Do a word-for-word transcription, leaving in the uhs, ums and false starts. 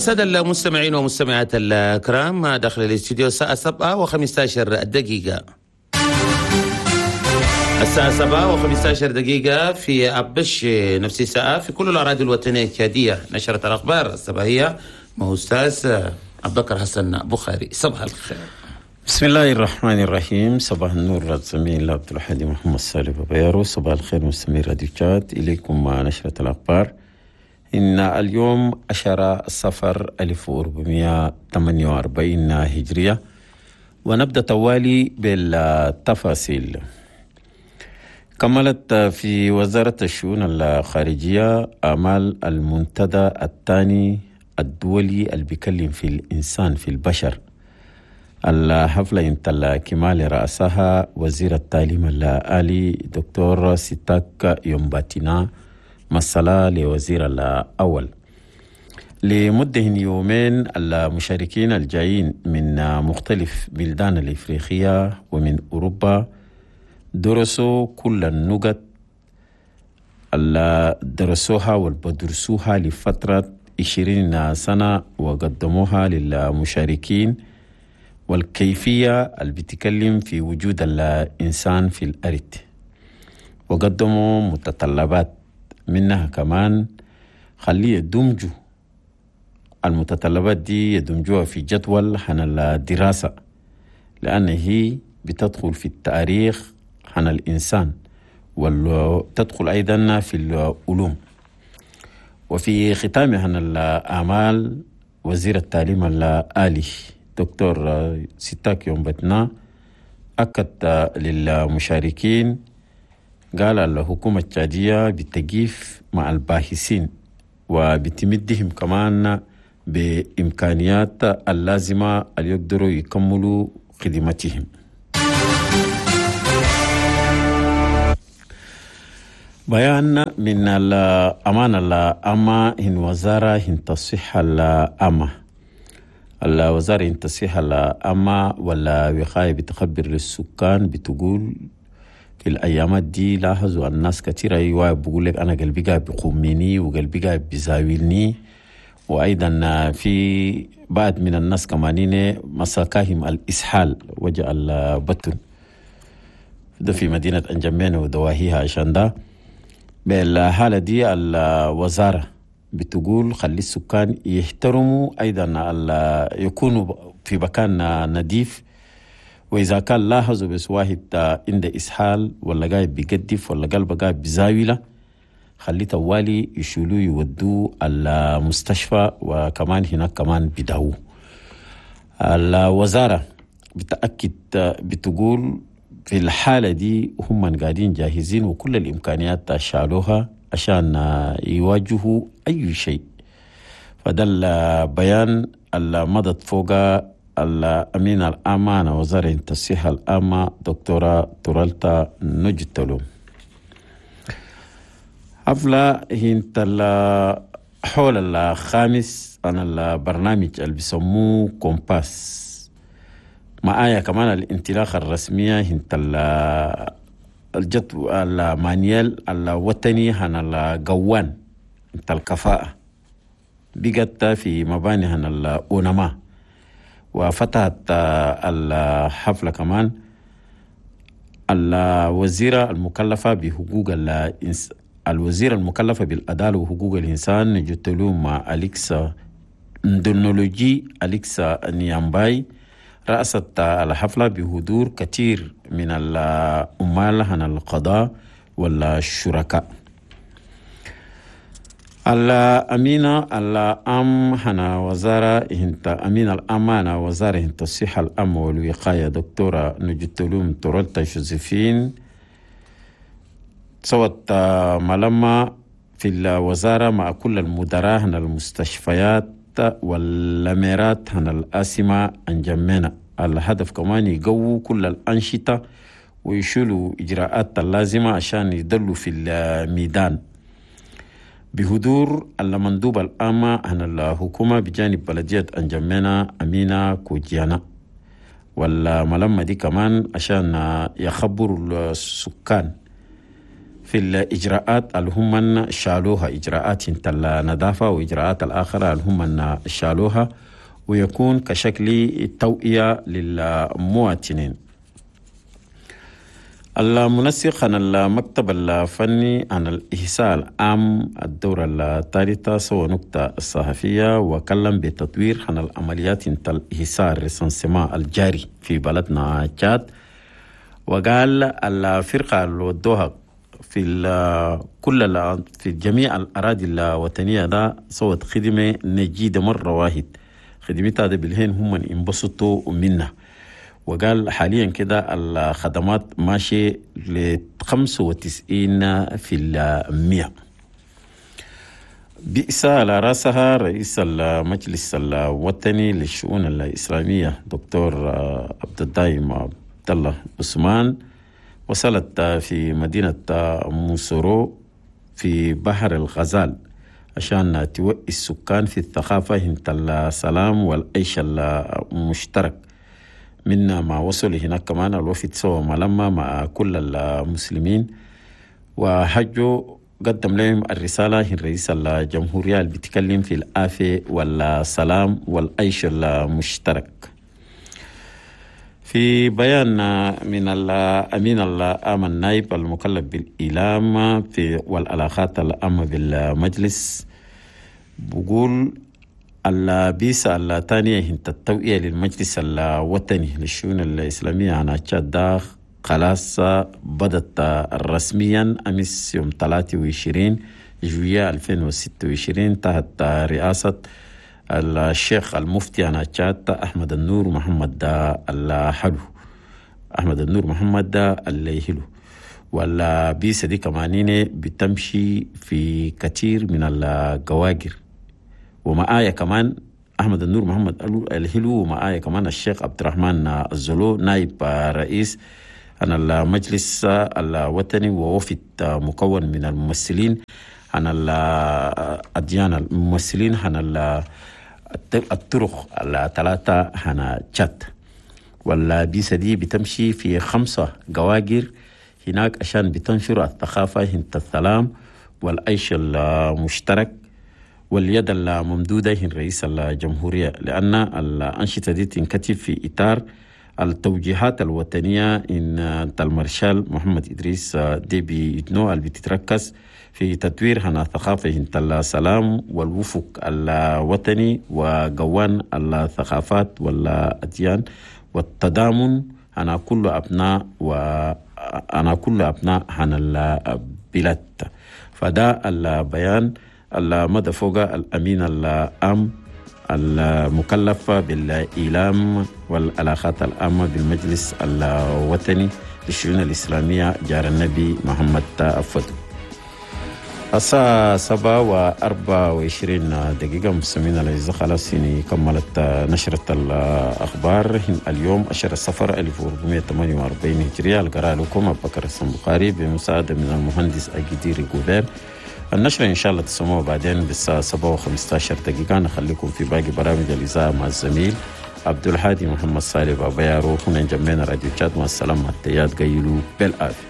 السادة المستمعين والمستمعات الكرام، داخل الاستوديو الساعة سبعة وخمسة عشر دقيقة. الساعة سبعة وخمسة عشر دقيقة في أبش، نفس الساعة في كل الأراضي الوطنية التشادية. نشرة الأخبار الصباحية مع أستاذ أبو بكر حسن بخاري. صباح الخير. بسم الله الرحمن الرحيم. صباح النور الزميل عبد الحادي محمد صالح بابيارو. صباح الخير مستمعي راديو تشاد، إليكم مع نشرة الأخبار. إن اليوم عشرة صفر ألف وأربعمائة وثمانية وأربعين هجرية، ونبدأ توالي بالتفاصيل. كملت في وزارة الشؤون الخارجية أعمال المنتدى الثاني الدولي اللي بيكلم في الإنسان في البشر. الحفلة انتل كمال رأسها وزير التعليم العالي دكتور ستاك يومباتينا مسألة لوزير الأول. لمدة يومين المشاركين الجايين من مختلف بلدان الإفريقية ومن أوروبا درسوا كل النقط اللي درسوها والبدرسوها لفترة عشرين سنة وقدموها للمشاركين، والكيفية اللي بتكلم في وجود الإنسان في الأرض، وقدموا متطلبات منها كمان خليه يدمجوا المتطلبات دي، يدمجوها في جدول عن الدراسة، لأن هي بتدخل في التاريخ عن الإنسان وتدخل أيضا في العلوم. وفي ختام عن الأعمال وزير التعليم العالي دكتور ستاك يومبتنا أكد للمشاركين، قال الحكومة التشادية بتقيف مع الباحثين وبتمدهم كمان بإمكانيات اللازمة اللي يقدروا يكملوا خدمتهم. بيان من الأمانة العامة إن وزارة إن الصحة العامة، الوزارة إن الصحة العامة والوقاية بتخبر للسكان، بتقول في الأيامات دي لاحظوا الناس كثيرة أيوة بقول لك أنا قلبي قاعد بيقومني وقلبي قاعد بيزاولني، وأيضا في بعض من الناس كمانين مساكاهم الإسهال وجع البطن ده في مدينة أنجمين ودواهيها. عشان ده بالحالة دي الوزارة بتقول خلي السكان يحترموا أيضا يكونوا في مكان نظيف، وإذا كان لاحظوا بس واحد عنده إسهال ولا قاعد بيقدف ولا قلبه قاعد بزاويله، خلي توالي يشيلوه يودوه المستشفى، وكمان هناك كمان بداوه. الوزارة بتأكد بتقول في الحالة دي هم قاعدين جاهزين وكل الإمكانيات شالوها عشان يواجهوا أي شيء. فده البيان اللي مضت فوق الأمين الأمانة وزارة الصحة العامة دكتورة تورالتا نجتلو. حفلة هنت حول الخامس عن البرنامج اللي بيسموه كومباس، معايا كمان الانطلاقة الرسمية هنت الجدول المانيال الوطني عن القوان انت الكفاءة بقت في مباني عن الأونما. وفتحت الحفلة كمان الوزيرة المكلفة بحقوق الإنس... الوزيرة المكلفة بالعدالة وحقوق الإنسان نجتلوم أليكسا ندونولوجي أليكسا نيامباي رأست الحفلة بحضور كثير من العمال عن القضاء والشركاء. الأمينة العام هنا وزارة هنت أمين الأمانة وزارة هنت الصحة العامة والوقاية دكتورة نجتلوم تورالتا جوزيفين سوت ملمة في الوزارة مع كل المدراء هنا المستشفيات والأميرات هنا الآسمة أنجمنا. الهدف كمان يقووا كل الأنشطة ويشيلوا إجراءات اللازمة عشان يدلوا في الميدان. بحضور المندوب العام عن الحكومة بجانب بلدية أنجمنا أمينة كوجيانا. والملمة دي كمان عشان يخبروا السكان في الإجراءات اللي هم شالوها، إجراءات النظافة وإجراءات الآخرة اللي هم شالوها، ويكون كشكل توعية للمواطنين. المنسق عن المكتب الفني عن الإحصاء العام الدورة الثالثة سوى نقطة الصحفية وكلم بتطوير عن العمليات الإحصاء الرسنسما الجاري في بلدنا تشاد، وقال الفرقة اللي ودوها في كل في جميع الأراضي الوطنية ده سوت خدمة نجيدة مرة واحد، خدمتها ده بالهين هم انبسطوا منها. وقال حاليا كده الخدمات ماشية ل خمسة وتسعين في المئة. بئس على رأسها رئيس المجلس الوطني للشؤون الإسلامية دكتور عبد الدايم عبد الله عثمان، وصلت في مدينة موسورو في بحر الغزال عشان توعي السكان في الثقافة هنت السلام والعيش المشترك. منا ما وصل هناك كمان الوفد سوى ملمة مع كل المسلمين وحجوا، قدم لهم الرسالة الرئيس الجمهورية اللي بيتكلم في العافية والسلام والعيش المشترك. في بيان من الأمين العام النائب المكلف بالإعلام في والعلاقات العامة بالمجلس بقول البيسة الثانية هي التوعية للمجلس الوطني للشؤون الإسلامية عن تشاد خلاص بدت رسميا أمس يوم ثلاثة وعشرين جوية ألفين وستة وعشرين تحت رئاسة الشيخ المفتي عن تشاد أحمد النور محمد الحلو، أحمد النور محمد الهلو. والبيسة دي كمانين بتمشي في كثير من الجواجر، ومعايا كمان أحمد النور محمد الهلو، ومعايا كمان الشيخ عبد الرحمن الزلو نائب رئيس عن المجلس الوطني، ووفد مكون من الممثلين عن الأديان، الممثلين عن الطرق الثلاثة عن تشاد. والبيسة دي بتمشي في خمسة جواجر هناك عشان بتنشر الثقافة هنت السلام والعيش المشترك واليد الممدودة هي رئيس الجمهورية، لأن الأنشطة دي تنكتب في إطار التوجيهات الوطنية إن المارشال محمد إدريس ديبي إتنو اللي بتتركز في تطوير هنا ثقافة السلام والوفق الوطني وقوان الثقافات والأديان والتضامن أنا كل أبناء وأنا كل أبناء هنا البلاد. فده البيان المدى فوق الأمين العام المكلف بالإعلام والعلاقات العامة بالمجلس الوطني للشؤون الإسلامية جار النبي محمد أفدو. الساعة سبعة وأربعة وعشرين دقيقة مستمعين الأعزاء، خلاص يعني كملت نشرة الأخبار اليوم عشرة صفر ألف وأربعمائة وثمانية وأربعين هجرية. القراءة لكم أبو بكر البخاري بمساعدة من المهندس أجديري جوبير. النشرة إن شاء الله تسمعوا بعدين بالساعة سبعة وخمسة عشر دقيقة. نخليكم في باقي برامج الإذاعة مع الزميل عبد الهادي محمد صالح بابا يارو. هنا جمعنا راديو تشاد. مع السلامة، التيات قيلوا بالعافية.